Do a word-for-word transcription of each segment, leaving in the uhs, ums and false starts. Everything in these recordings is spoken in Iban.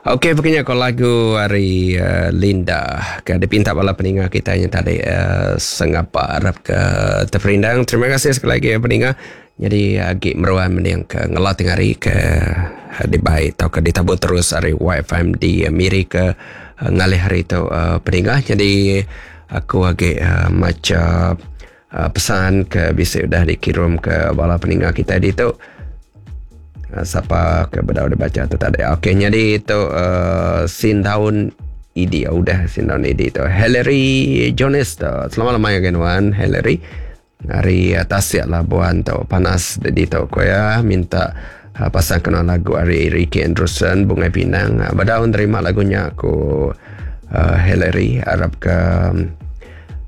Okey, pokoknya kalau lagu hari uh, Linda ke dipinta bala peninga kita yang tadi uh, sengapa harap ke terperindang. Terima kasih sekali lagi ya peninga. Jadi agi meruan mending ke ngelatih hari ke dibai atau ke ditabur terus hari Y F M di Miri ke uh, ngalih hari tu uh, peninga. Jadi aku agi uh, maca uh, pesan ke bisa udah dikirim ke bala peninga kita di tu. Siapa ke bedau dibaca tu tadi. Okey, jadi itu uh, Sindaun I D. Udah Sindaun I D tu. Hillary Jones tu. Selamat malam ya kawan Hillary. Hari Tasik Labuan tu panas di tu ko ya, minta uh, pasang kena lagu hari Ricky Anderson Bungai Pinang. Bedau terima lagunya aku uh, Hillary, harap ke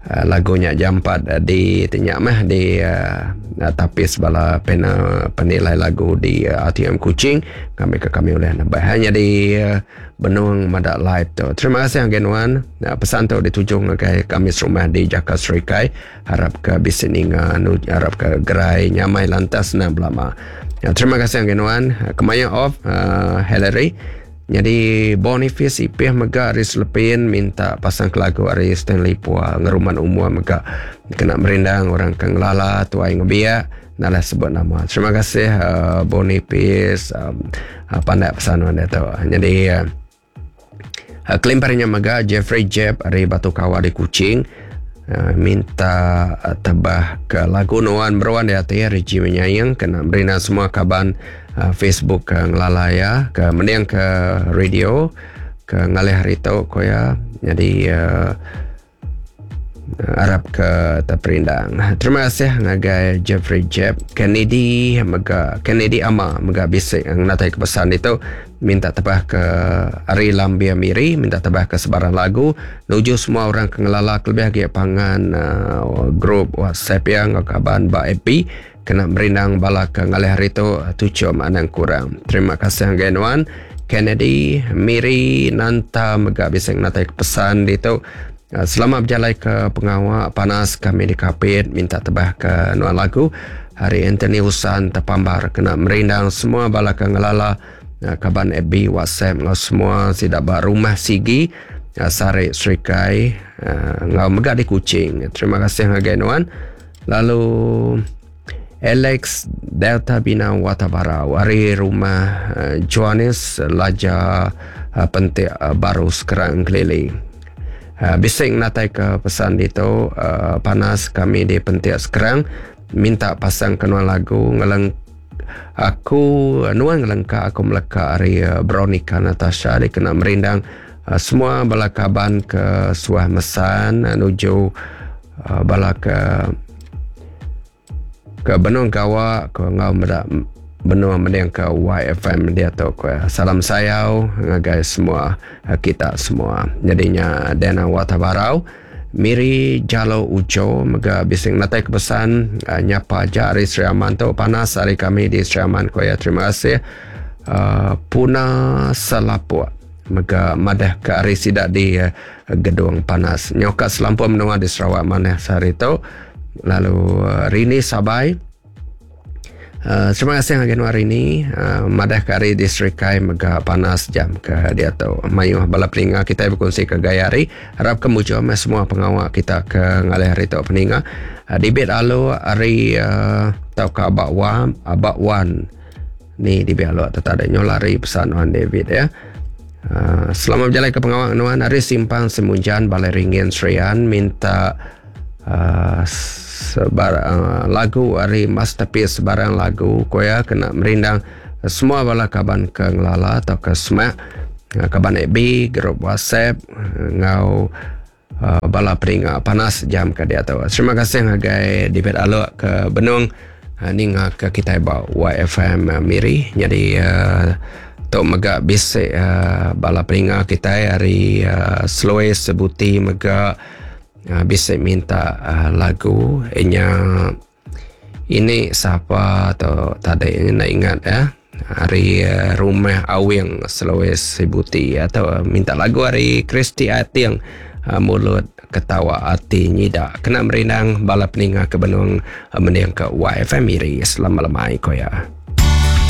uh, lagunya jam empat uh, di tinyak mah di uh, tapis bala pena penilai lagu di uh, A T M Kuching kami ke kami oleh nambah hanya di uh, Benung Madak Live tu. Terima kasih Genwan. Nah, pesan tu ditujung ke kami serumah di Jakarta Serikai. Harap ke bisik ninga harap ke gerai nyamai lantas nak belama. Ya, terima kasih Genwan. Kemaya off uh, Hillary. Jadi Boniface Ipih mega Aris Lepin minta pasang lagu Ari Stanley Pua ngeruman umur mega kena merindang orang ke ngelala tuai ngebiak nalah sebut nama. Terima kasih uh, Boniface um, uh, pandai pesan anda tu. Jadi uh, uh, kelimparnya mega Jeffrey Jeb Ari Batu Kawa di Kuching uh, minta uh, tebah ke lagu Nuan Meruan di hati Regi Menyayang kena merindang semua kaban Uh, Facebook ke ngelala ya, ke mending ke radio ke ngalih hari tu ko ya. Jadi uh, harap ke terperindang. Terima kasih ngagai Jeffrey Jeb Kennedy mega Kennedy Ama mega bisik ngatai ke pesan itu minta tebah ke Ari Lambia Miri, minta tebah ke sebarang lagu nuju semua orang ke ngelala kelebih lagi pangan uh, grup WhatsApp yang kaban ba A P kena merindang bala ke ngalih hari tu tujuh anang kurang. Terima kasih Genwan Kennedy Miri Nanta mega bisa ngatai pesan itu. Selamat berjalan ke pengawak panas kami di Kapit minta tebah ke nuan lagu hari Anthony Husan terpambar kena merindang semua bala ke ngelala kaban F B WhatsApp ngau semua sidak ba rumah Sigi Sarik Serikai ngau mega di Kuching. Terima kasih ngagai nuan. Lalu Alex Delta Bina Watabara hari rumah uh, Johannes Laja uh, Pentik uh, baru sekarang keliling. Uh, bising natai ke pesan itu uh, panas kami di Pentik sekarang minta pasang kenuan lagu ngeleng aku nuan ngelengka aku meleka hari uh, Veronica Natasha dikena merindang uh, semua bala kaban ke Suah Mesan uh, nuju uh, bala ke ke Benung Gawa ke ngau medak benua mending ke Y F M dia tu ko. Salam sayau ngagai semua kita semua. Jadinya Dana Watabarau Miri Jalo Ujo mega bising natai ke pesan uh, nyapa aja hari Sri Aman tu panas hari kami di Sri Aman ko ya. Terima kasih uh, Puna Selapuk mega madah ke hari sidak di uh, gedung panas nyoka selampur menua di Sarawak mana sehari tu. Lalu uh, Rini Sabai uh, terima kasih ngagai hari ini uh, madah ke hari di Serikai mega panas jam ke dia tu. Mayuh bala peninga kita berkongsi ke gaya hari. Harap kemujuan semua pengawak kita ke ngalih hari tu peninga. Uh, Dibit alu hari uh, tau ke Abak Wan, Abak Wan. Ni dibit alu tetap ada nyolari pesan Wan David ya. Uh, selamat berjalan ke pengawak nuan hari Simpang Semunjan Balai Ringin Serian minta uh, sebar, uh, lagu hari masterpiece sebarang lagu koya kena merindang semua bala kaban ke ngelala atau ke semak kaban F B grup WhatsApp ngau uh, bala peringa panas jam ke dia tahu. Terima kasih ngagai David Alok ke Benung uh, ninga ke kita ba Y F M uh, Miri. Jadi uh, tok mega bisik uh, bala peringa kita hari uh, Sloe Sebuti mega Uh, bisa minta uh, lagu inya ini siapa atau tadi ini nak ingat ya hari uh, rumah Awing Sulawesi Sibuti atau uh, minta lagu hari Kristi Ating uh, mulut ketawa hati nyidak kena merindang bala peninga ke Benung uh, mending ke Y F M Miri. Selamat lemai ko ya.